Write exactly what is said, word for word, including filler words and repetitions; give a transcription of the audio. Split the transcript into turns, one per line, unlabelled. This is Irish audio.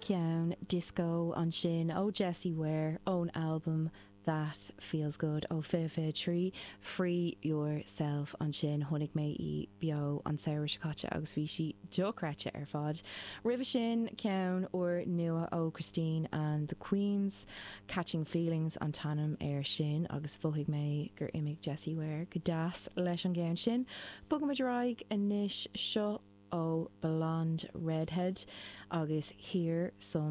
Ceann disco ansin ó Jessie Ware ón albam That Feels Good ó fiche fiche trí Free Yourself ansin chonaic mé í beo an samhradh seo caite agus bhí sí dochreidte ar fad. Roimhe sin ceann úr nua ó Christine and the Queens, Catching Feelings an t-ainm air sin agus mhothaigh mé gur imigh Jessie Ware go deas leis an gceann sin. Bogaimid ar aghaidh anois seo ó Blonde Redhead agus Hear Some